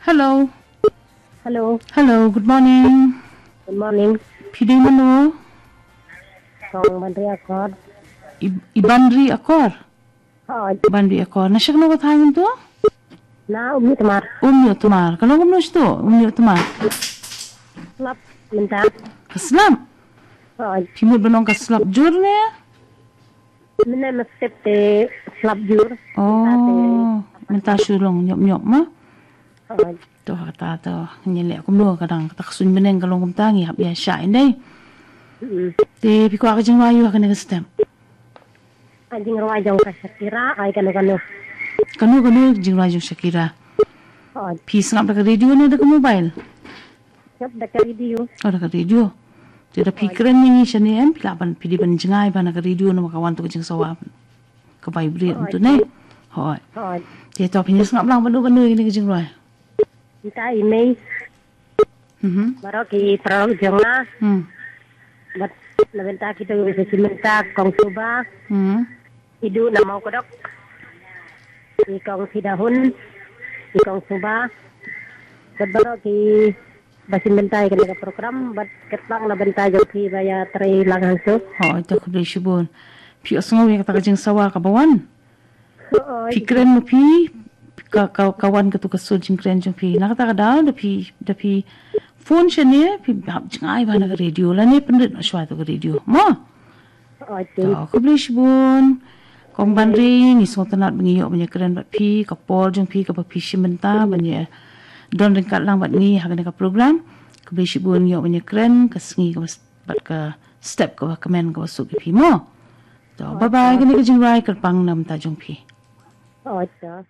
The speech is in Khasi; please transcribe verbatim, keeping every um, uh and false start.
Hello. Hello. Hello, good morning. Good morning. Phi dei mano? Kong Banri Akor. I, i Banri Akor? Hoi. Banri Akor. Na sha kano ka thaiñ to? Na Umïohtmar. Umïohtmar. Ka long kumno shto? Umïohtmar. Slap mynta. Ka slap? Hoi. Phi mut ba long ka slap jur ne? Mynne mynstep te slap jur. Oh, mynta shu long ñiop ñiop ma? Hoi. To kata to ngi leh kumno ka dang kata ka suiñ bneng ka long kumta ngi hap ïa shah ïa dei. Mm. Te phi kwah ka jingrwai ïa kane ka step. Ka jingrwai jong ka Shakira, ai kano kano. Kano kano jingrwai jong Shakira. Hoi. Phi sngap da ka radio ne da ka mobile? Sngap da ka radio. Oh, da ka radio. Te da phi kren ïa ngi shane em, phi lah ban phi dei ban jngai ba na ka radio namar ka wan to ka jingsawa. Ka vibrate tu ne. Hoi. Hoi. Te to phi sngap lang ba nu ba nu ïa kane ka jingrwai. Kita i mei. Mhm. Baroh ki paralok jong nga. Hmm. Bad na bynta kito ki basa shi bynta Kong Suba. Hmm. Idu na Mawkdok. I Kong Pidahun. I Kong Suba. Bad baroh ki ba shi bynta ïa kane ka program bad katba na bynta jong phi ba ïa trei lang hangto. Hoi, to khublei shibun. Phi ïohsngew ïa kata ka jingsawa kaba wan. Hoi. Phi kren ma phi ka ka ka wan katu ka sur jingkren jong phi. Na kata ka daw da phi da phi phone shane phi hap jngai ba na ka radio lane pynrit noh shwa to ka radio. Mo? Hoi. To khublei shibun. Kong Banri ngi sngewtynnat ba ngi ïoh ban ïakren bad phi ka por jong phi kaba phi shim bynta ban ïa don ryngkat lang bad ngi ha kane ka program. Khublei shibun ngi ïoh ban ïakren ka sngi kaba s- bad ka step kaba kmen kaba suk ïa phi mo. To bye bye kane ka jingrwai kyrpang na bynta jong phi. Hoi to.